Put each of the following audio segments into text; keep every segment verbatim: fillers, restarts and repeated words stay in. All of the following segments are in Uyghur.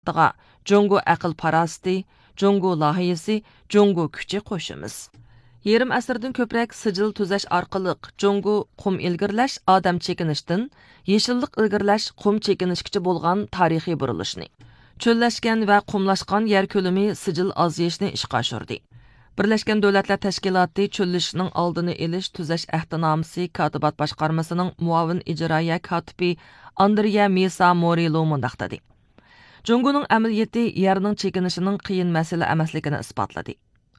تەشكىلاتىغا جۇڭگو ئەقىل پاراسىتى، جۇڭگو لايىھىسى، جۇڭگو كۈچى قوشىمىز. يېرىم ئەسىردىن كۆپرەك سىجىل تۈزەش ئارقىلىق جۇڭگو قۇم ئىلگىرىلەش ئادەم چېكىنىشتىن يېشىللىق ئىلگىرىلەش قۇم چېكىنىشكىچە بولغان تارىخىي بۇرۇلۇشنى، چۆللەشكەن ۋە قۇملاشقان يەر كۆلىمى سىجىل ئازىيىشنى ئىشقا ئاشۇردى. بىرلەشكەن دۆلەتلەر تەشكىلاتى چۆللىشىشنىڭ ئالدىنى ئېلىش تۈزەش ئەھدىنامىسى كاتىبات باشقارمىسىنىڭ مۇئاۋىن ئىجرائىيە كاتىپى ئاندرېيا مىسا مورىلو مۇنداق دېدى: جۇڭگونىڭ ئەمەلىيىتى يەرنىڭ چېكىنىشىنىڭ قىيىن مەسىلە ئەمەسلىكىنى ئىسپاتلىدى.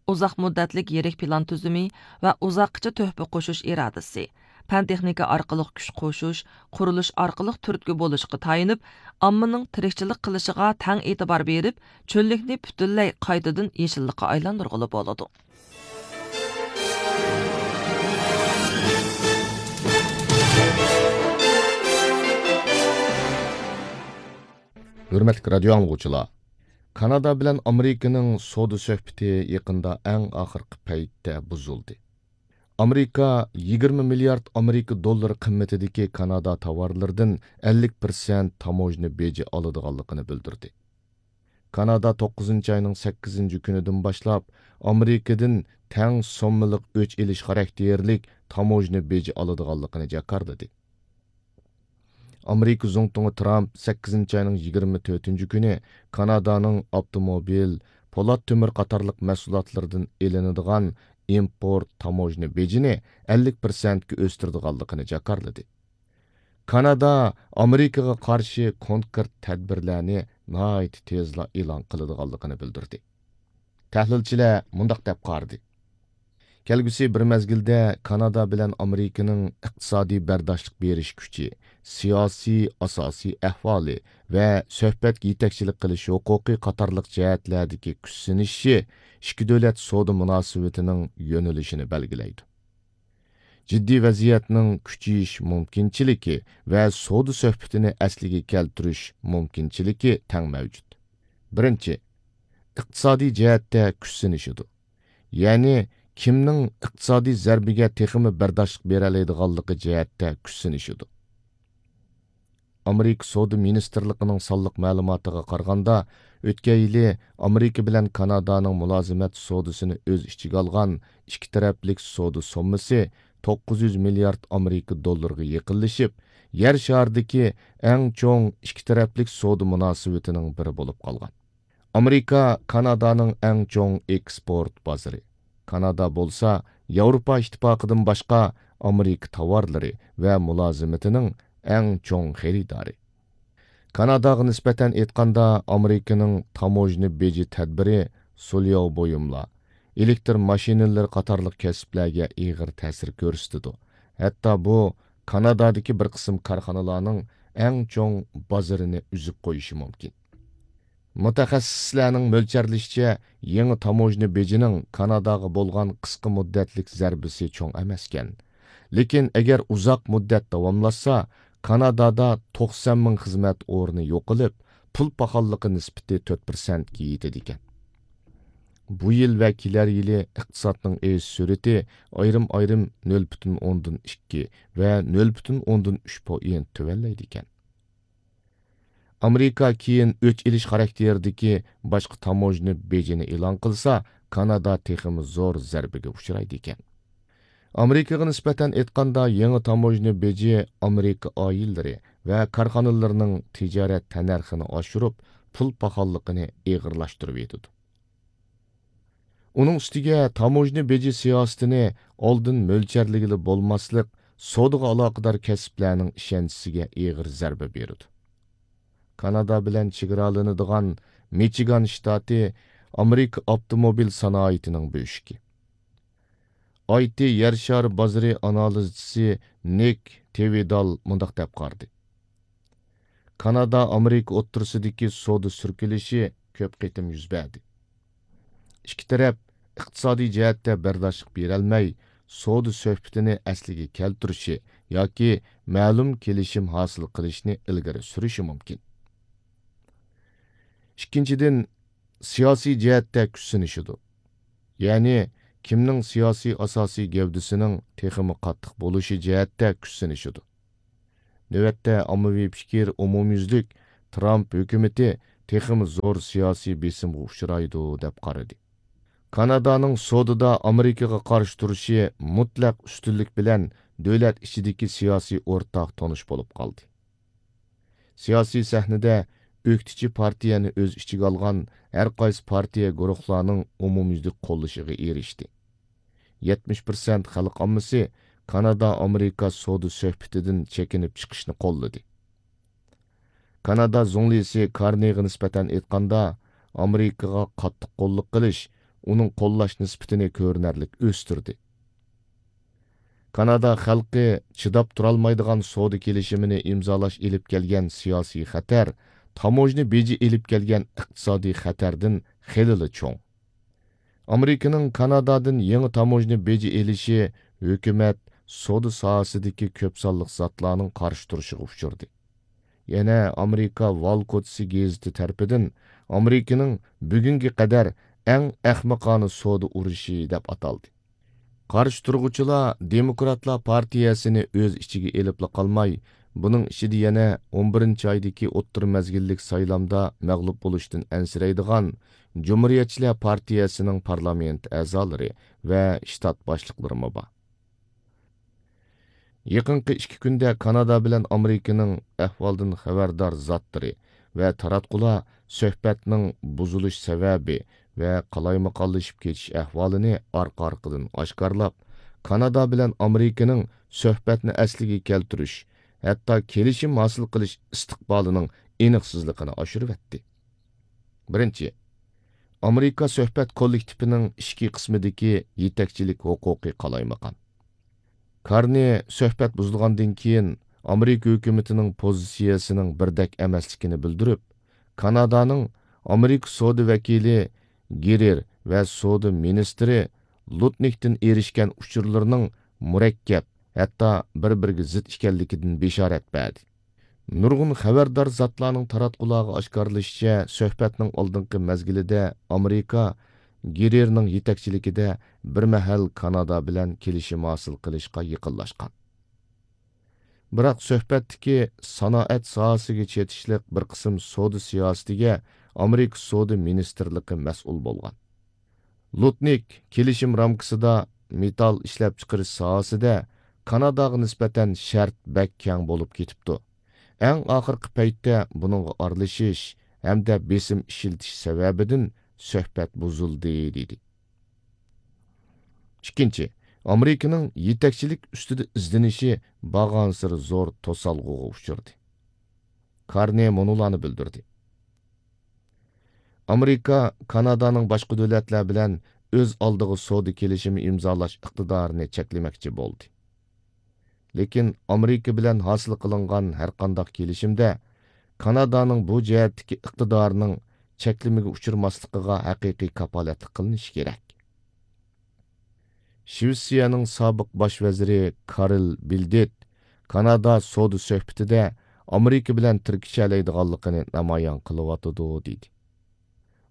ئۇزاق مۇددەتلىك يىرىك پىلان تۈزۈمى ۋە ئۇزاققىچە تۆھپە قوشۇش ئىرادىسى، پەن تېخنىكا ئارقىلىق كۈچ قوشۇش، قۇرۇلۇش ئارقىلىق تۈرتكە بولۇشقا تايىنىپ، ئاممىنىڭ تىرىكچىلىك قىلىشىغا تەڭ ئېتىبار بېرىپ، چۆللۈكنى پۈتۈنلەي قايتىدىن يېشىللىققا ئايلاندۇرغىلى بولىدۇ. ھۆرمەتلىك رادىيو ئاڭلىغۇچىلار، كانادا بىلەن ئامېرىكىنىڭ سودا سۆھبىتى يېقىندا ئەڭ ئاخىرقى پەيتتە بۇزۇلدى. ئامېرىكا يىگىرمە مىليارد ئامېرىكا دوللىرى قىممىتىدىكى كانادا تاۋارلىرىدىن ئەللىك پىرسەنت تاموژنا بېجى ئالىدىغانلىقىنى بىلدۈردى. كانادا توققۇزىنچى ئاينىڭ سەككىزىنچى كۈنىدىن باشلاپ ئامېرىكىدىن تەڭ سوممىلىق ئۆچ ئېلىش خاراكتېرلىك تاموژنا بېجى ئالىدىغانلىقىنى جاكارلىدى. ئامېرىكا زۇڭتۇڭى ترامپ سەككىزىنچى ئاينىڭ يىگىرمە تۆتىنچى كۈنى كانادانىڭ ئاپتوموبىل، پولات تۆمۈر قاتارلىق مەھسۇلاتلىرىدىن ئېلىنىدىغان ئىمپورت تاموژنا بېجىنى ئەللىك پىرسەنتكە ئۆستۈرىدىغانلىقىنى جاكارلىدى. كانادا ئامېرىكىغا قارشى كونكرېت تەدبىرلەرنى ناھايىتى تېزلا ئېلان قىلىدىغانلىقىنى بىلدۈردى. تەھلىلچىلەر مۇنداق دەپ قارىدى: كەلگۈسى بىر مەزگىلدە كانادا بىلەن ئامېرىكىنىڭ ئىقتىسادىي بەرداشلىق بېرىش كۈچى، سىياسىي ئاساسىي ئەھۋالى ۋە سۆھبەتكە يېتەكچىلىك قىلىش ھوقۇقى قاتارلىق جەھەتلەردىكى كۈچ سىنىشىشى ئىككى دۆلەت سودا مۇناسىۋىتىنىڭ يۆنىلىشىنى بەلگىلەيدۇ. جىددىي ۋەزىيەتنىڭ كۈچىيىش مۇمكىنچىلىكى ۋە سودا سۆھبىتىنى ئەسلىگە كەلتۈرۈش مۇمكىنچىلىكى تەڭ مەۋجۇت. بىرىنچى، ئىقتىسادىي جەھەتتە كۈچ سىنىشىدۇ. يەنى كىمنىڭ ئىقتىسادىي زەربىگە تېخىمۇ بەرداشلىق بېرەلەيدىغانلىقى جەھەتتە كۈچ سىنىشىدۇ. ئامېرىكا سودا مىنىستىرلىقىنىڭ سانلىق مەلۇماتىغا قارىغاندا، ئۆتكەن يىلى ئامېرىكا بىلەن كانادانىڭ مۇلازىمەت سودىسىنى ئۆز ئىچىگە ئالغان ئىككى تەرەپلىك سودا سوممىسى توققۇز يۈز مىليارد ئامېرىكا دوللىرىغا يېقىنلىشىپ، يەر شارىدىكى ئەڭ چوڭ ئىككى تەرەپلىك سودا مۇناسىۋىتىنىڭ بىرى بولۇپ قالغان. ئامېرىكا كانادانىڭ ئەڭ چوڭ ئېكسپورت بازىرى. كانادا بولسا ياۋروپا ئىتتىپاقىدىن باشقا ئامېرىكا تاۋارلىرى ۋە مۇلازىمىتىنىڭ ئەڭ چوڭ خېرىدارى. كاناداغا نىسبەتەن ئېيتقاندا، ئامېرىكىنىڭ تاموژنا بېجى تەدبىرى سۇلياۋ بۇيۇملار، ئېلېكتر ماشىنىلىرى قاتارلىق كەسىپلەرگە ئېغىر تەسىر كۆرسىتىدۇ. ھەتتا بۇ كانادادىكى بىر قىسىم كارخانىلارنىڭ ئەڭ چوڭ بازىرىنى ئۈزۈپ قويۇشى مۇمكىن. مۇتەخەسسىسلەرنىڭ مۆلچەرلىشىچە، يېڭى تاموژنا بېجىنىڭ كاناداغا بولغان قىسقا مۇددەتلىك زەربىسى چوڭ ئەمەسكەن. لېكىن ئەگەر ئۇزاق مۇددەت داۋاملاشسا، كانادادا توقسان مىڭ خىزمەت ئورنى يوقىلىپ، پۇل پاخاللىقى نىسبىتى تۆت پىرسەنتكە يېتىدىكەن. بۇ يىل ۋە كېلەر يىلى ئىقتىسادنىڭ ئېشىش سۈرئىتى ئايرىم-ئايرىم نۆل پۈتۈن ئوندىن ئىككى ۋە نۆل پۈتۈن ئوندىن ئۈچ پوئىنت تۆۋەنلەيدىكەن. ئامېرىكا كېيىن ئۆچ ئېلىش خاراكتېرىدىكى باشقا تاموژنا بېجىنى ئېلان قىلسا، كانادا تېخىمۇ زور زەربىگە ئۇچرايدىكەن. ئامېرىكىغا نىسبەتەن ئېيتقاندا، يېڭى تاموژنا بېجى ئامېرىكا ئائىلىلىرى ۋە كارخانىلىرىنىڭ تىجارەت تەننەرخىنى ئاشۇرۇپ، پۇل پاخاللىقىنى ئېغىرلاشتۇرۇۋېتىدۇ. ئۇنىڭ ئۈستىگە تاموژنا بېجى سىياسىتىنى ئالدىن مۆلچەرلىگىلى بولماسلىق سودىغا ئالاقىدار كەسىپلەرنىڭ ئىشەنچىسىگە ئېغىر زەربە بېرىدۇ. كانادا بىلەن چېگرالىنىدىغان مىچىگان شتاتى ئامېرىكا ئاپتوموبىل سانائىتىنىڭ بۆشۈكى. ئاي تى يەر شارى بازىرى ئانالىزچىسى نىك تېۋىدال مۇنداق دەپ قارىدى: كانادا ئامېرىكا ئوتتۇرىسىدىكى سودا سۈركىلىشى كۆپ قېتىم يۈز بەردى. ئىككى تەرەپ ئىقتىسادىي جەھەتتە بەرداشلىق بېرەلمەي، سودا سۆھبىتىنى ئەسلىگە كەلتۈرۈشى ياكى مەلۇم كېلىشىم ھاسىل قىلىشنى ئىلگىرى سۈرۈشى مۇمكىن. ئىككىنچىدىن، سىياسىي جەھەتتە كۈچ سىنىشىدۇ. يەنى، كىمنىڭ سىياسىي ئاساسىي گەۋدىسىنىڭ تېخىمۇ قاتتىق بولۇشى جەھەتتە كۈچ سىنىشىدۇ. نۆۋەتتە ئاممىۋى پىكىر ئومۇميۈزلۈك ترامپ ھۆكۈمىتى تېخىمۇ زور سىياسىي بېسىمغا ئۇچرايدۇ، دەپ قارىدى. كانادانىڭ سودىدا ئامېرىكىغا قارشى تۇرۇشى مۇتلەق ئۈستۈنلۈك بىلەن دۆلەت ئىچىدىكى سىياسىي ئورتاق تونۇش بولۇپ قالدى. سىياسىي سەھنىدە ئۆكتىچى پارتىيەنى ئۆز ئىچىگە ئالغان ھەر قايسى پارتىيە گۇرۇھلارنىڭ ئومۇميۈزلۈك قوللىشىغا ئېرىشتى. يەتمىش پىرسەنت خەلق ئاممىسى كانادا-ئامېرىكا سودا سۆھبىتىدىن چېكىنىپ چىقىشنى قوللىدى. كانادا زۇڭلىسى كارنىغا نىسبەتەن ئېيتقاندا، ئامېرىكىغا قاتتىق قوللۇق قىلىش ئۇنىڭ قوللاش نىسبىتىنى كۆرۈنەرلىك ئۆستۈردى. كانادا خەلقى چىداپ تۇرالمايدىغان سودا كېلىشىمىنى ئىمزالاش ئېلىپ كەلگەن سىياسىي خەتەر تاموژنا بېجى ئېلىپ كەلگەن ئىقتىسادىي خەتەردىن خېلىلا چوڭ. ئامېرىكىنىڭ كانادادىن يېڭى تاموژنا بېجى ئېلىشى ھۆكۈمەت سودا ساھەسىدىكى كۆپ سانلىق زاتلارنىڭ قارشى تۇرۇشىغا ئۇچرىدى. يەنە ئامېرىكا ۋال كوچىسى گېزىتى تەرىپىدىن ئامېرىكىنىڭ بۈگۈنگە قەدەر ئەڭ ئەخمىقانە سودا ئۇرۇشى دەپ ئاتالدى. قارشى تۇرغۇچىلار دېموكراتلار پارتىيەسىنى ئۆز ئىچىگە ئېلىپلا قالماي، بۇنىڭ ئىچىدە يەنە ئون بىرىنچى ئايدىكى ئوتتۇرا مەزگىللىك سايلامدا مەغلۇپ بولۇشتىن ئەنسىرەيدىغان جۇمھۇرىيەتچىلەر پارتىيەسىنىڭ پارلامېنت ئەزالىرى ۋە شتات باشلىقلىرىمۇ بار. يېقىنقى ئىككى كۈندە كانادا بىلەن ئامېرىكىنىڭ ئەھۋالدىن خەۋەردار زاتلىرى ۋە تاراتقۇلار سۆھبەتنىڭ بۇزۇلۇش سەۋەبى ۋە قالايمىقانلىشىپ كېتىش ئەھۋالىنى ئارقا-ئارقىدىن ئاشكارىلاپ، كانادا بىلەن ئامېرىكىنىڭ سۆھبەتنى ئەسلىگە كەلتۈرۈش، ھەتتا كېلىشىم ھاسىل قىلىش ئىستىقبالىنىڭ ئېنىقسىزلىقىنى ئاشۇرۇۋەتتى. بىرىنچى، ئامېرىكا سۆھبەت كوللېكتىپىنىڭ ئىچكى قىسمىدىكى يېتەكچىلىك ھوقۇقى قالايمىقان. كارنى سۆھبەت بۇزۇلغاندىن كېيىن، ئامېرىكا ھۆكۈمىتىنىڭ پوزىتسىيەسىنىڭ بىردەك ئەمەسلىكىنى بىلدۈرۈپ، كانادانىڭ ئامېرىكا سودا ۋەكىلى گېرېر ۋە سودا مىنىستىرى لۇتنىكتىن ئېرىشكەن ئۇچۇرلىرىنىڭ مۇرەككەپ، ھەتتا بىر-بىرىگە زىت ئىكەنلىكىدىن بېشارەت بەردى. نۇرغۇن خەۋەردار زاتلارنىڭ تاراتقۇلارغا ئاشكارىلىشىچە، سۆھبەتنىڭ ئالدىنقى مەزگىلىدە ئامېرىكا گېرېرنىڭ يېتەكچىلىكىدە بىر مەھەل كانادا بىلەن كېلىشىم ھاسىل قىلىشقا يېقىنلاشقان. بىراق سۆھبەتتىكى سانائەت ساھەسىگە چېتىشلىق بىر قىسىم سودا سىياسىتىگە ئامېرىكا سودا مىنىستىرلىقى مەسئۇل بولغان. لۇتنىك كېلىشىم رامكىسىدا مېتال ئىشلەپچىقىرىش ساھەسىدە كاناداغا نىسبەتەن شەرت بەك كەڭ بولۇپ كېتىپتۇ. ئەڭ ئاخىرقى پەيتتە بۇنىڭغا ئارىلىشىش ھەمدە بېسىم ئىشلىتىش سەۋەبىدىن سۆھبەت بۇزۇلدى، دېدى. ئىككىنچى، ئامېرىكىنىڭ يېتەكچىلىك ئۈستىدە ئىزدىنىشى بارغانسېرى زور توسالغۇغا ئۇچرىدى. كارنى مۇنۇلارنى بىلدۈردى. ئامېرىكا كانادانىڭ باشقا دۆلەتلەر بىلەن ئۆز ئالدىغا سودا كېلىشىمى ئىمزالاش ئىقتىدارىنى چەكلىمەكچى بولدى. لېكىن ئامېرىكا بىلەن ھاسىل قىلىنغان ھەرقانداق كېلىشىمدە كانادانىڭ بۇ جەھەتتىكى ئىقتىدارىنىڭ چەكلىمىگە ئۇچرىماسلىقىغا ھەقىقىي كاپالەتلىك قىلىنىشى كېرەك. شىۋېتسىيەنىڭ سابىق باش ۋەزىرى كارل بىلدېت كانادا سودا سۆھبىتىدە ئامېرىكا بىلەن تىركىشەلەيدىغانلىقىنى نامايان قىلىۋاتىدۇ، دېدى.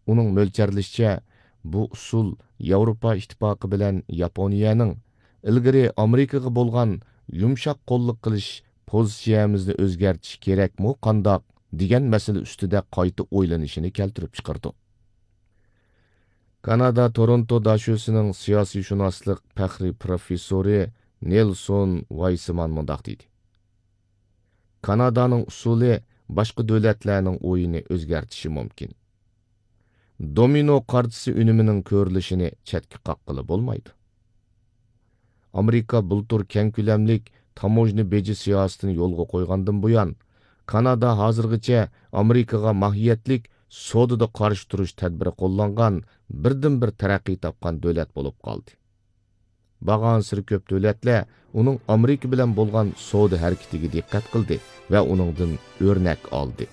ئۇنىڭ مۆلچەرلىشىچە، بۇ ئۇسۇل ياۋروپا ئىتتىپاقى بىلەن ياپونىيەنىڭ ئىلگىرى ئامېرىكىغا بولغان يۇمشاق قوللۇق قىلىش پوزىتسىيەمىزنى ئۆزگەرتىش كېرەكمۇ قانداق دېگەن مەسىلە ئۈستىدە قايتا ئويلىنىشىنى كەلتۈرۈپ چىقىرىدۇ. كانادا تورونتو داشۆسىنىڭ سىياسىيشۇناسلىق پەخرىي پروفېسسورى نېلسون ۋايسمان مۇنداق دېدى: كانادانىڭ ئۇسۇلى باشقا دۆلەتلەرنىڭ ئويىنى ئۆزگەرتىشى مۇمكىن. دومىنو قارتىسى ئۈنۈمىنىڭ كۆرۈلۈشىنى چەتكە قاققىلى بولمايدۇ. ئامېرىكا بۇلتۇر كەڭ كۆلەملىك تاموژنا بېجى سىياسىتىنى يولغا قويغاندىن بۇيان، كانادا ھازىرغىچە ئامېرىكىغا ماھىيەتلىك سودىدا قارشى تۇرۇش تەدبىرى قوللانغان بىردىنبىر تەرەققىي تاپقان دۆلەت بولۇپ قالدى. بارغانسېرى كۆپ دۆلەتلەر ئۇنىڭ ئامېرىكا بىلەن بولغان سودا ھەرىكىتىگە دىققەت قىلدى ۋە ئۇنىڭدىن ئۆرنەك ئالدى.